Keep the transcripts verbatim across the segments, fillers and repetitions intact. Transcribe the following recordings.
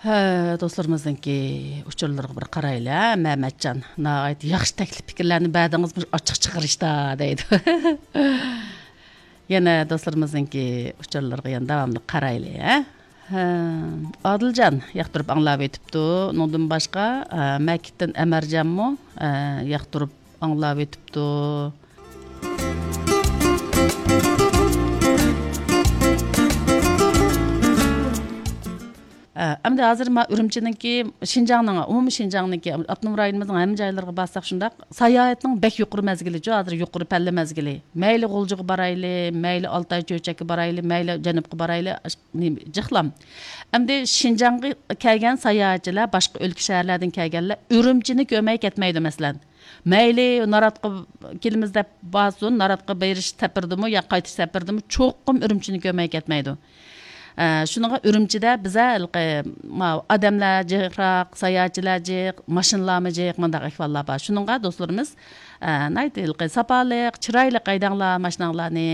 ھە، دوستلىرىمىزنىڭكى ئۇچۇرلىرىغا بىر قارايلى، ھە، مەمەتجان. ناھايىتى ياخشى تەكلىپ پىكىرلەرنى بەردىڭىز، مۇشۇ ئاچچىق چىقىرىشتا، دەيدۇ. يەنە دوستلىرىمىزنىڭكى ئۇچۇرلىرىغا يەنە داۋاملىق قارايلى، ھە. ھە، ئادىلجان ياقتۇرۇپ ئاڭلاۋېتىپتۇ. ئۇنىڭدىن باشقا، ھە، مەكىتتىن ئەمەرجانمۇ، ھە، ياقتۇرۇپ ئاڭلاۋېتىپتۇ. ئە، ئەمدى ھازىر ما ئۈرۈمچىنىڭكى، شىنجاڭنىڭ، ئومۇمىي شىنجاڭنىڭكى، ئاپتونوم رايونىمىزنىڭ ھەممە جايلىرىغا بارساق شۇنداق، ساياھەتنىڭ بەك يۇقىرى مەزگىلىچۇ، ھازىر يۇقىرى پەللە مەزگىلى. مەيلى غۇلجىغا بارايلى، مەيلى ئالتاي چۆچەككە بارايلى، مەيلى جەنۇبقا بارايلى، ئاش-، نېمە، جىقلام. ئەمدى شىنجاڭغا كەلگەن ساياھەتچىلەر، باشقا ئۆلكە، شەھەرلەردىن كەلگەنلەر ئۈرۈمچىنى كۆرمەي كەتمەيدۇ، مەسىلەن. مەيلى ناراتقا كېلىمىز دەپ بارسۇن، ناراتقا بېرىش سەپىرىدىمۇ يا قايتىش سەپىرىدىمۇ چوقۇم ئۈرۈمچىنى كۆرمەي كەتمەيدۇ. ئە، شۇنىڭغا ئۈرۈمچىدە بىزە ھېلىقى، ماۋۇ ئادەملەر جىقراق، ساياھەتچىلەر جىق، ماشىنىلارمۇ جىق، مۇنداق ئەھۋاللار بار. شۇنىڭغا دوستلىرىمىز، ئە، ناھايىتى ھېلىقى ساپالىق، چىرايلىق ھەيدەڭلار ماشىناڭلارنى.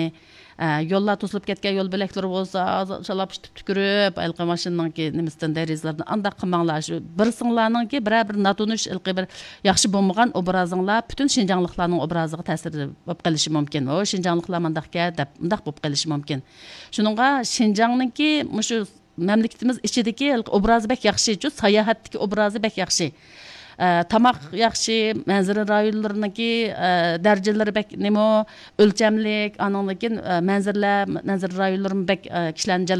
ئە، يوللار توسۇلۇپ كەتكەن يول بۆلەكلىرى بولسا، شالاپ تۈكۈرۈپ، ھېلىقى ماشىنىنىڭكى نېمىسىدىن، دېرىزىلىرىدىن ئانداق قىلماڭلار. شۇ بىرسىڭلارنىڭكى بىرەر بىر ناتونۇش، ھېلىقى بىر ياخشى بولمىغان ئوبرازىڭلار پۈتۈن شىنجاڭلىقلارنىڭ ئوبرازىغا تەسىر بولۇپ قېلىشى مۇمكىن. ئۇ شىنجاڭلىقلار مانداقكەن دەپ، مۇنداق بولۇپ قېلىشى مۇمكىن. شۇنىڭغا شىنجاڭنىڭكى مۇشۇ مەملىكىتىمىز ئىچىدىكى ھېلىقى ئوبرازى بەك ياخشى، شۇ ساياھەتتىكى ئوبرازى بەك ياخشى. ئە، تاماق ياخشى، مەنزىرە رايونلىرىنىڭكى، ئە، دەرىجىلىرى بەك نېمە، ئۆلچەملىك، ئانىڭدىن كېيىن، ئە، مەنزىرىلەر، مەنزىرە رايونلىرىمۇ بەك، ئە، كىشىلەرنى جەلپ